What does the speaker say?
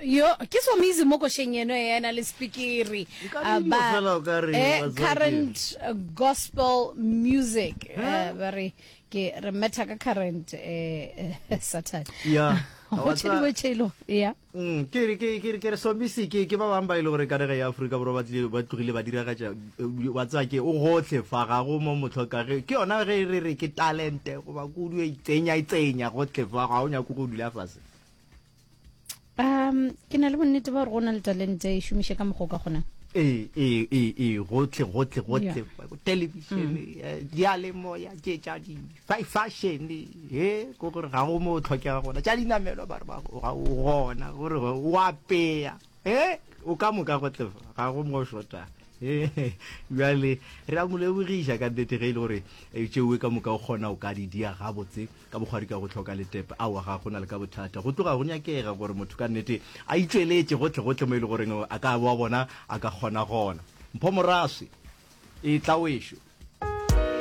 Yo, ke Somizi mo košeng eno e ena le spikiri. Nka re dilo fela o ka re eh, wa tseba ke- current gospel music eh, ba re ke re metha ka current eh, eh, Satan. Ya. Go Wa tše tseba- dingwe tše e lego ya. Ke re ke ke ke re Somizi ke ke ba bang ba e le gore ka nageng ya Afrika Borwa ba tlile ba tlogile ba diragatša wa tseba ke o gohle fa ga go mo mohloka ge ke yona ge re re ke talente goba kudu e itsenya itsenya gohle fa ga o nyake go dula fase. Um, ke na le bonnete ba gore go na le talente e šomiše ka mokgwa o ka kgonang. Ee, ee, ee, ee, gohle, gohle, gohle, television, diyalemoya, tše tša di fashion, he, ko gore ga go mo o tlhokega gona, tša dinamelwa ba re ba ga o gona, gore o apeya, he, o ka moka gohle fa, ga go mo o shotang. Bjale re a mo lebogiša ka nnete ge e le gore tšeoe ka moka o kgona o ka di dia gabotse. Ka bokgwari ka go hloka letepe, aowa ga go na le ka bothata. Go tloga go nyakega gore motho ka nnete a itšweletše gohle-gohle mo e le goreng a ka wa bona a ka kgona gona. Mpho Moraswi, etla wešo.